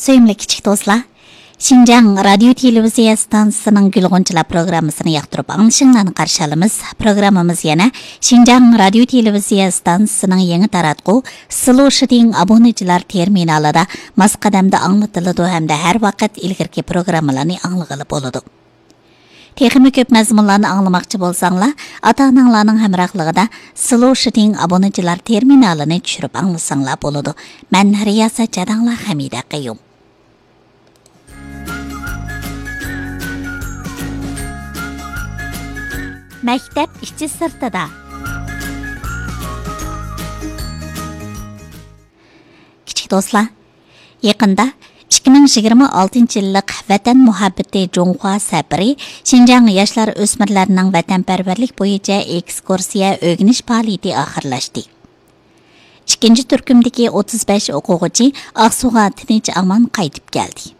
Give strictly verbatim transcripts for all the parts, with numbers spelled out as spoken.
سۆيۈملۈك كىچىك دوستلار، شىنجاڭ رادىيو تېلېۋىزىيە ئىستانسىسىنىڭ گۈل غۇنچىلار پروگراممىسىنى ياقتۇرۇپ ئاڭلىشىڭلارنى قارشى ئالىمىز. پروگراممىمىز يەنە شىنجاڭ رادىيو تېلېۋىزىيە ئىستانسىسىنىڭ يېڭى تاراتقۇ سلوشىدىڭ ئابۇنىچىلار تېرمىنالىدا ماس قەدەمدە ئاڭلىتىلىدۇ ھەمدە ھەر ۋاقىت ئىلگىرىكى پروگراممىلارنى ئاڭلىغىلى بولىدۇ. تېخىمۇ كۆپ مەزمۇنلارنى ئاڭلىماقچى بولساڭلار، ئاتا-ئاناڭلارنىڭ ھەمراھلىقىدا سلوشىدىڭ ئابۇنىچىلار تېرمىنالىنى چۈشۈرۈپ ئاڭلىساڭلار بولىدۇ. مەن رىياسەت چاداڭلار، خەمىدە قەييۇم. مەكتەپ ئىچى سىرتىدا. كىچىك دوستلار، يېقىندا ئىككى مىڭ يىگىرمە ئالتىنچى يىللىق ۋەتەن مۇھەببىتى جۇڭخۇا سەپىرى شىنجاڭ ياشلار ئۆسمۈرلەرنىڭ ۋەتەنپەرۋەرلىك بويىچە ئېكسكۇرسىيە ئۆگىنىش پائالىيىتى ئاخىرلاشتى. ئىككىنچى تۈركۈمدىكى ئوتتۇز بەش ئوقۇغۇچى ئاقسۇغا تىنچ-ئامان قايتىپ كەلدى.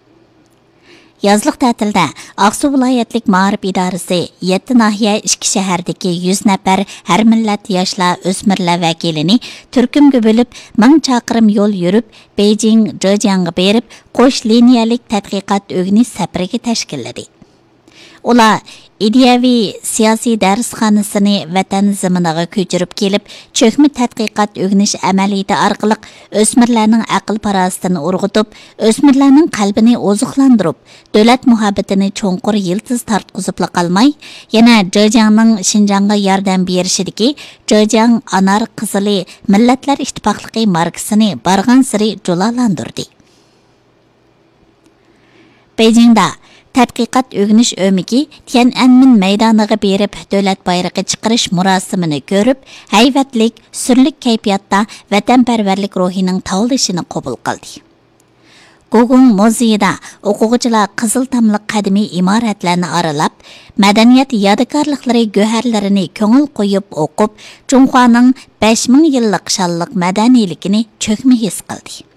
يازلىق تەتىلدە ئاقسۇ ۋىلايەتلىك مائارىپ ئىدارىسى يەتتە ناھىيە، ئىككى شەھەردىكى يۈز نەپەر ھەر مىللەت ياشلار، ئۆسمۈرلەر ۋەكىلىنى تۈركۈمگە بۆلۈپ، مىڭ چاقىرىم يول يۈرۈپ، بېيجىڭ، جېجياڭغا بېرىپ، قوش لىنىيەلىك تەتقىقات ئۆگىنىش سەپىرىگە تەشكىللىدى. ئۇلار ئىدىيەۋى سىياسىي دەرسخانىسىنى ۋەتەن زېمىنىغا كۆچۈرۈپ كېلىپ، چۆكمە تەتقىقات ئۆگىنىش ئەمەلىيىتى ئارقىلىق ئۆسمۈرلەرنىڭ ئەقىل-پاراسىتىنى ئۇرغۇتۇپ، ئۆسمۈرلەرنىڭ قەلبىنى ئوزۇقلاندۇرۇپ، دۆلەت مۇھەببىتىنى چوڭقۇر يىلتىز تارتقۇزۇپلا قالماي، يەنە جېجياڭنىڭ شىنجاڭغا ياردەم بېرىشىدىكى جېجياڭ ئانار قىزىلى مىللەتلەر ئىتتىپاقلىقى ماركىسىنى بارغانسېرى جۇلالاندۇردى. بېيجىڭدا تەتقىقات ئۆگىنىش ئۆمىكى تيەنئەنمېن مەيدانىغا بېرىپ، دۆلەت بايرىقى چىقىرىش مۇراسىمىنى كۆرۈپ، ھەيۋەتلىك، سۈرلۈك كەيپىياتتا ۋەتەنپەرۋەرلىك روھىنىڭ تاۋلىشىنى قوبۇل قىلدى. گوگۇڭ مۇزېيىدا ئوقۇغۇچىلار قىزىل تاملىق قەدىمىي ئىمارەتلەرنى ئارىلاپ، مەدەنىيەت يادىكارلىقلىرى گۆھەرلىرىنى كۆڭۈل قويۇپ ئوقۇپ، جۇڭخۇانىڭ بەش مىڭ يىللىق شانلىق مەدەنىيلىكىنى چۆكمە ھېس قىلدى.